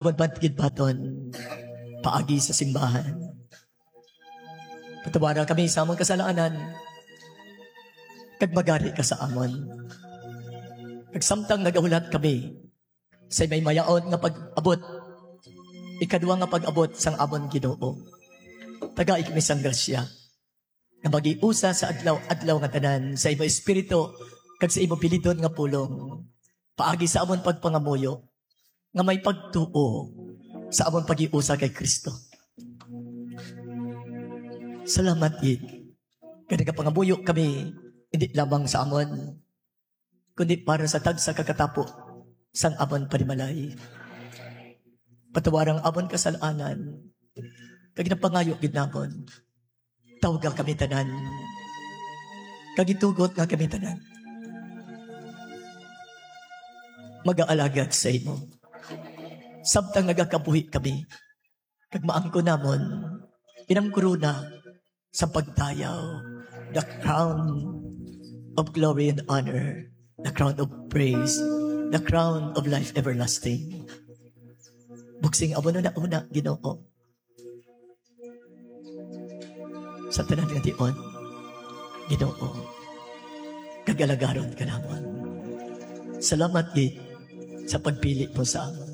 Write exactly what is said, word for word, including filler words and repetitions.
Magbantigid baton paagi sa simbahan. Patawara kami sa among kasalanan, kag magari ka sa amon. Kag samtang nagahulat kami sa may mayaon nga pag-abot, ikadwa nga pag-abot sang amon Ginoo, tagai kami sang grasya nga magiusa sa adlaw-adlaw nga tanan sa imo espiritu kag sa imo bilidon nga pulong, paagi sa amon pagpangamuyo nga may pagtuo sa amon pagiusa kay Kristo. Salamat gid nga nagapangamuyo kami, hindi lamang sa amon, kundi para sa tagsa ka katapo sang amon panimalay. Patawara ang amon kasalanan, kag ginapangayo gid namon, tawga kami tanan, kag itugot nga kami tanan magaalagad sa imo. Samtang nagakabuhi kami, kag maangkon namon inang korona sa pagdayaw, the crown of glory and honor, the crown of praise, the crown of life everlasting. Buksing amon una-una, Ginoo, sa tanan nga tion, Ginoo, kag alagaron ka namon. Salamat gid sa pagpili mo sa amon.